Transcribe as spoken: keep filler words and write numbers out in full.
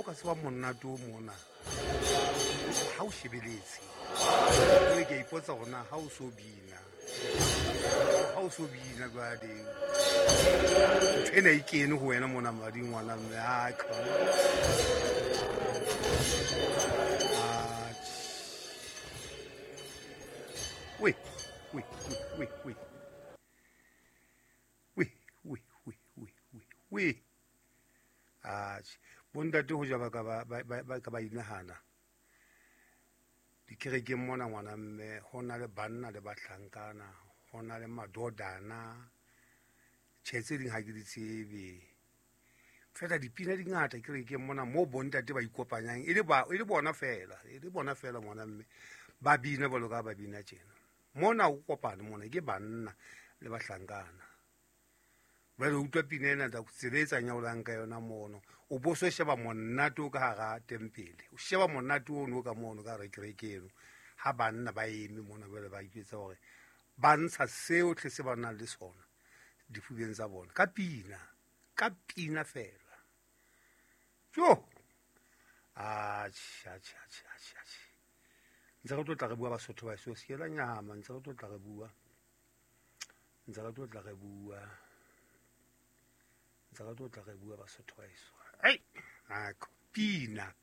ka tseba monate o mona ha o shebeletse. Jwale ke a ipotsa hore na ha o so bina, ha o so bina jwale ntho ena e kene ho wena mona mading ngwana mme. Ai, come on. Atjhe. We, we, we, we, we. We, we, we, we, we, we. Atjhe, bontate ho ja ba ka ba ba ba ka ba inahana. Dikerekeng mona ngwana mme ho na le banna le bahlankana, ho na le madodana. Tjhe, tse ding ha ke di tsebe. Fela dipina di ngata kerekeng mona moo bontate ba ikopanyang e le ba e le bona fela, e le bona fela ngwana mme ba bina jwalo ka ba bina tjena. Mona ho kopane mona ke banna le bahlankana. Jwale o utlwa pina ena tsela e tsanyaolang ka yona mono. O bo so sheba monate o ka hara tempele. O sheba monate ono ka mono ka hara kereke eno. Ha banna ba eme mona jwale ba ipetsa hore ba ntsha seo tle se ba nang le sona difubeng tsa bona. Ka pina, ka pina fela. Jo. Atjhe, atjhe, atjhe, atjhe, atjhe. Ntse re tlo tla re bua Basotho ba so se la nyama, ntse re tlo tla re bua. Ntse re tlo tla re bua. Ntse re tlo tla re bua Basotho ba eso. Ai, nako pina.